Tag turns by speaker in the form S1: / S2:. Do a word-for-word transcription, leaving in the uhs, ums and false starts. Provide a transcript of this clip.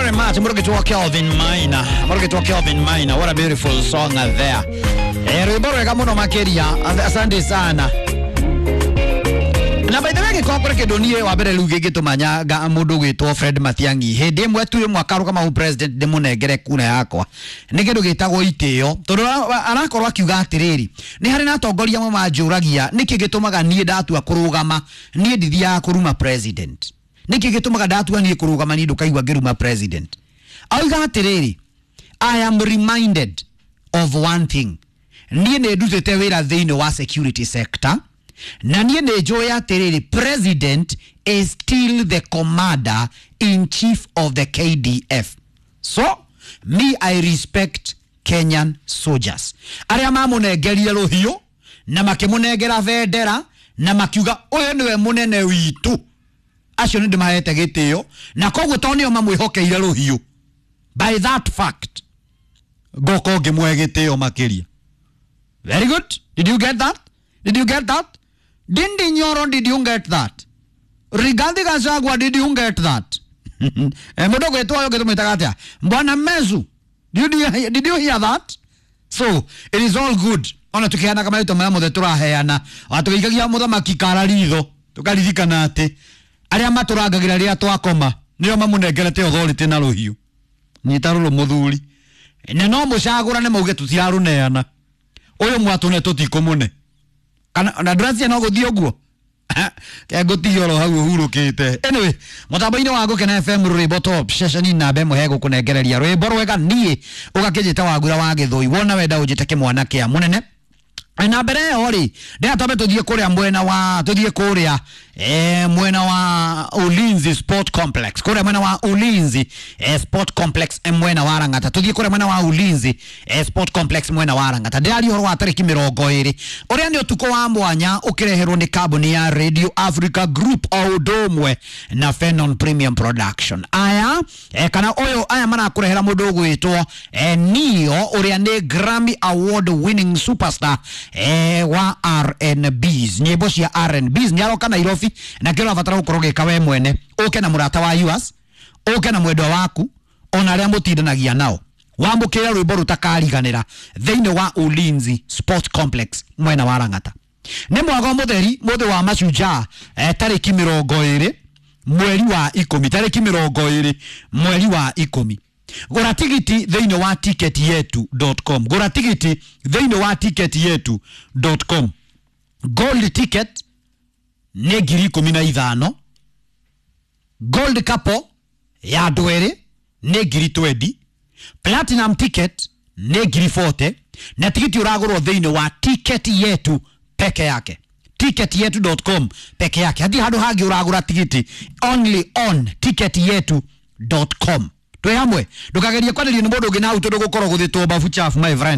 S1: very much. Mũrũgĩtwo Kelvin Maina. Mũrũgĩtwo Kelvin Maina. What a beautiful song there. Eh, rwĩmbo rwega mũno makĩria. Asante sana. Na by the way, gĩkorwo kũrĩ kĩndũ niĩ wa mbere rĩu gĩngĩtũma nyanga mũndũ gwĩtwo Fred Matiang'i hĩndĩ ĩmwe tu ĩmwe akarũgama president ndĩmũnengere kura yakwa nĩ kĩndũ gĩtagwo itĩo, tondũ arakorwo akiuga atĩrĩrĩ, nĩ harĩ na atongoria amwe manjũragia nĩkĩ gĩtũmaga niĩ ndatua kũrũgama niĩ ndithiaga kũruma president, nĩkĩ gĩtũmaga ndatua niĩ kũrũgama niĩ ndũkaigua ngĩruma president. Auga atĩrĩrĩ, "I am reminded of one thing, niĩ nĩ ndutĩte wĩra thĩinĩ wa security sector na niĩ nĩ njũĩ atĩrĩrĩ, president is still the commander in chief of the K D F, so me, I respect Kenyan soldiers arĩa mamũnengerire rũhiũ na makĩmũnengera bendera na makiuga ũyũ nĩwe mũnene witũ, acio nĩ ndĩmahete gĩtĩo, na koguo tondũ nĩo mamwĩhokeire rũhiũ, by that fact ngoka ngĩmũhe gĩtĩo makĩria." Very good. Did you get that? Did you get that? Ndindi Nyoro, did you get that? Rigathi Gachagua, did you get that? Eh, mũndũ gwĩtwo ũyũ ũngĩ atĩa, Bwana Mezu, did you, did you hear that? So it is all good. Ona tukiheanaga marĩtwa marĩa mothe tũraheana, ona tũgĩikagia mũthamaki kara ritho, tũkaririkana atĩ arĩa matũrangagĩra rĩrĩa twakoma nĩo mamũnengerete authority na rũhiũ. Nyita rũrũ mũthuri, na no mũcagũrane mauge tũtirarũneana, ũyũ mwatũne tũtikũmũne, kana na ndũracia no gũthiĩ ũguo kengũtigia oro hau ũhurũkĩte. Anyway, mũtambo-inĩ wa Gũkena F M, rwĩmbo top ceceni namba ĩmwe hegũkũnengereria rwĩmbo rwega. Niĩ ũgakĩnjĩta Wagura wa Gĩthũi, wona wenda ũnjĩte kĩmwana kĩa mũnene. Na mbere ĩyo rĩ, ndĩra twambe tũthiĩ kũrĩa mwena wa tũthiĩ kũrĩa eh, mwena wa Ulinzi Sport Complex, kũrĩa mwena wa Ulinzi eh, Sport Complex, eh, mwena wa Lang'ata. Tũthiĩ kũrĩa mwena wa Ulinzi eh, Sport Complex, mwena wa Lang'ata. Ndĩraria ũhoro wa tarĩki mĩrongo ĩrĩ, ũrĩa nĩ ũtukũ wa mwanya ũkĩreherwo nĩ kambuni ya Radio Africa Group o ũndũ ũmwe na Fenon Premium Production. Aya eh, kana ũyũ aya marakũrehera mũndũ ũgwĩtwo eh, Neo, ũrĩa nĩ Grammy Award winning superstar eh, wa R and Bs, nyĩmbo cia R and Bs. Nĩ aroka Nairobi, na kĩrĩa ũrabatara gũkorwo ũgĩka we mwene, ũke na mũrata wa yours, ũke na mwendwa waku, ona arĩa mũtindanagia nao, wamũkĩre rwĩmbo rũtakariganĩra thĩinĩ wa Ulinzi Sport Complex, mwena wa Lang'ata. Nĩ mwago mũtheri mũthĩ wa mashujaa, eh, tarĩki mĩrongo ĩrĩ mweri wa ikũmi, tarĩki mĩrongo ĩrĩ mweri wa ikũmi. Gũra tigiti thĩinĩ wa ticket yetu dot com, gũra tigiti thĩinĩ wa ticket yetu dot com. Gold ticket nĩ ngiri ikũmi na ithano, gold couple ya andũ erĩ nĩ ngiri twenty, platinum ticket nĩ ngiri mĩrongo ĩnana, na tigiti ũragũrwo thĩinĩ wa Ticket Yetu peke yake, ticket yetu dot com peke yake. Hatirĩ handũ hangĩ ũragũra tigiti, only on ticket yetu dot com. Twĩ hamwe, ndũkagerie kwarĩrio nĩ mũndũ ũngĩ na hau, tondũ gũkorwo gũthĩtwo babu chafu, my friend.